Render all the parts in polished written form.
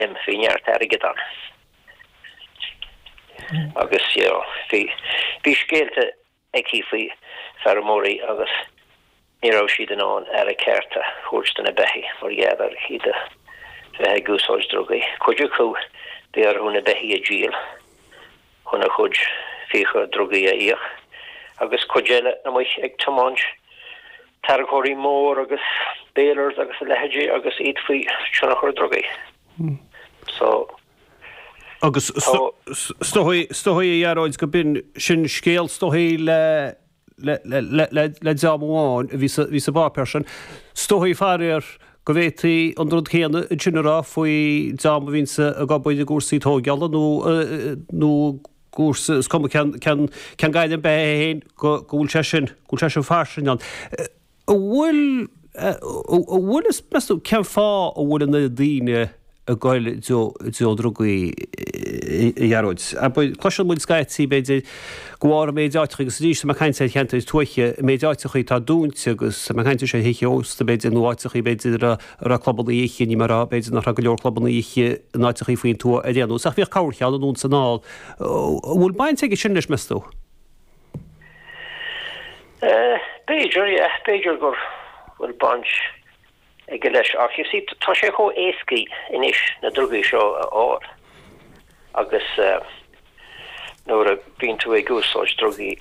Bhí neart airgead ann. Agus you know bhí bhí scéalta aici faoi feirmeoirí agus ní raibh siad in ann aire ceart a thabhairt do na beithígh mar gheall ar iad a bheith ag úsáid drugaí. Cuid acu bhí orthu na beithígh a dhíol chun a chuid fiacha drugaí a íoc agus cuid eile amuigh ag tiomáint tarracóirí mór agus balers agus a leithéidí agus iad faoi tionchar drugaí. So, Agus tá. Is dóigh, is dóigh a Ghearóid go b'in sin scéal is dóigh le le le le le dream amháin a bhí sa bhí sa bpáipéar sin. Is dóigh faraor go bhféadfaí an rud céanna ansin a rá faoi dream a bhíonns ag obair i gcúrsaí tóigeála nó nó cúrsa, is cuma cén cén cén gairm beatha é féin go go bhfuil sé sin go bhfuil sé sin fairsing ann. An bhfuil an bhfuil fhios meas tú cén fáth a bhfuil an oiread daoine ag goil i dtreo drugaí, a Ghearóid? Abair, cloiseann muid scaití, b'fhéidir, go bharr an méid áiteachaí, agus arís tá mé ag caint ar cheantair tuaithe, an méid áiteachaí atá dúnta agus tá mé ag caint ar thithe ósta, b'fhéidir, nó áiteachaí, b'fhéidir, a raibh clubanna oíche, ní mar a b'fhéidir nach raibh go leor clubanna oíche in áiteachaí faoin tuath ar aon nós, ach bhíodh corrcheann anonn is anall. An bhfuil baint aige sin leis, meas tú? B'fhéidir, yeah, b'fhéidir go bhfuil baint aige leis ach you see tá sé chomh éascaí anois na drugaí seo a fháil agus nuair a bhíonn tú ag úsáid drugaí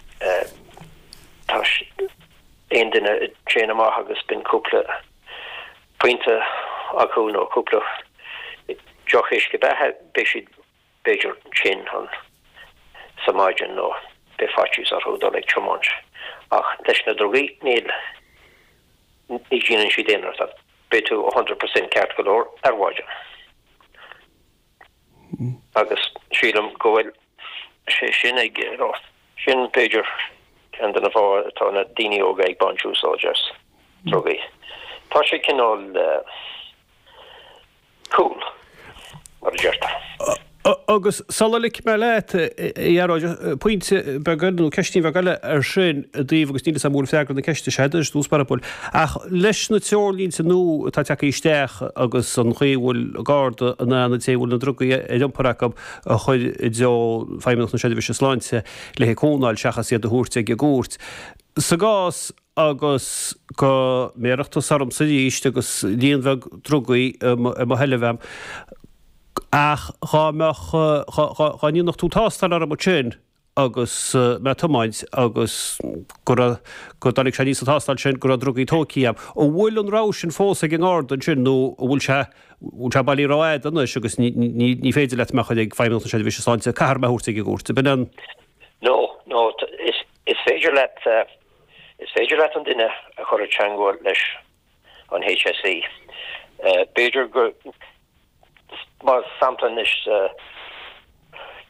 tá aon duine a téann amach agus bíonn cúpla pionta acu nó cúpla deoch uisce beatha beidh siad b'fhéidir tinn an sa maidin nó beidh faitíos orthu dul ag tiomáint. Ach leis na drugaí níl, ní dhéanann siad aon rud. Beidh tú a hundred percent ceart go leor ar mhaidin. Agus sílim go bhfuil sé sin ag, you know, sin b'fhéidir ceann de na fátha atá na daoine óga ag baint úsáid as drugaí. Tá sé cineál eh, cool, mar a deirtear. Agus sula ligfidh mé leat, a Ghearóid, pointe beag eile, nó ceistín bheag eile ar sin i dtaobh, agus níl 'fhios a'm an bhfuil freagra na ceiste seo agat ar dtús báire, ach leis na treoirlínte nua atá tagtha isteach agus an chaoi a bhfuil an Garda in ann an té a bhfuil na drugaí ar iompar acu a chur i dtreo Feidhmeannacht na Seirbhíse Sláinte le haghaidh cónail seachas iad a thabhairt ag an gcúirt. Sa gcás agus go mbéarfadh tusa ormsa arís agus líon bheag drugaí i mo sheilbh a'm, ach dhá mbeadh, dhá ndéanfadh tú tástáil orm ansin agus mé ag tiomáint agus go raibh, go dtáinig sé aníos sa tástáil sin go raibh drugaí tóigthí a'm. An bhfuil an rogha sin fós ag an nGarda ansin nó an bhfuil sé, bhfuil sé bailí rófhada anois agus ní, ní, ní féidir leat mé a chur ag Feidhmeannacht na Seirbhíse Sláinte, caithfear mé a thabhairt ag an gcúirt. Ab in an. No, no, is, is féidir leat, Is féidir leat an duine a chur i dteangmháil leis an HSE. B'fhéidir go, mar sampla anois,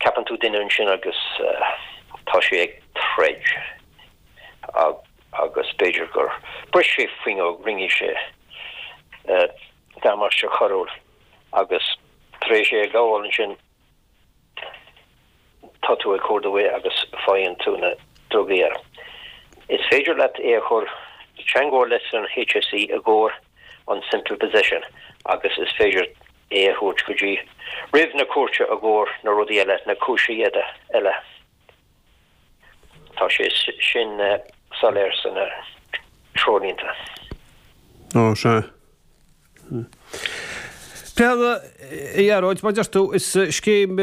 ceapann tú duine ansin agus tá sé ag troid agus b'fhéidir gur bhris sé fuinneog, rinne sé damáiste coiriúil agus tar éis é a ghabháil ansin, tá tú ag cuardú é agus faigheann tú na drugaí air. Is féidir leat é a chur i dteangmháil leis an HSE i gcomhair an simple possession agus is féidir é a thabhairt go dtí roimh na cúirte i gcomhair na rudaí eile, na cúinsí eile. Tá sé sin soiléir sna treoirlínte. Ó, sea. Peadar, A Ghearóid, mar a deir tú, is scéim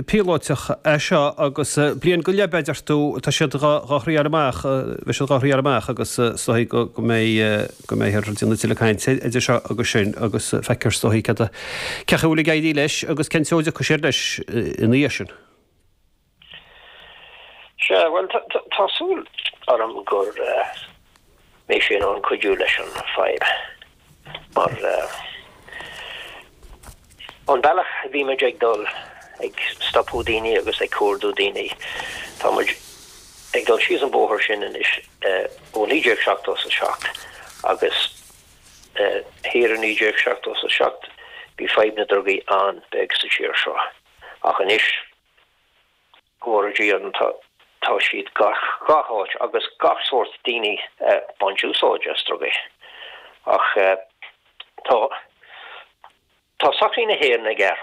píolóiteach é seo agus bliain go leith, a deir tú, tá siad dhá thriáil amach, beidh siad dhá thriáil amach agus is dóigh go mbeidh, go mbeifear ag déanamh tuilleadh cainte idir seo agus sin agus feicfear is dóigh cén chaoi a bhfuil ag éirí leis agus cén treo a dtiocfaidh siad leis ina dhiaidh sin. Sea, bhuel, tá súil orm go mbeidh sé in ann cuidiú leis an fadhb, mar an bealach a bhí muid ag dul, ag stopadh daoine agus ag cuardú daoine, tá muid ag dul síos an bóthar sin anois ó 1977 agus thiar i 1977 bhí fadhb na drugaí an-bheag sa tír seo ach anois, Go bhfóire Dia orainn tá tá siad gach gach áit agus gach sórt daoine ag baint úsáid as drugaí. Ach tá. Tá sochaí na hÉireann ag athrú.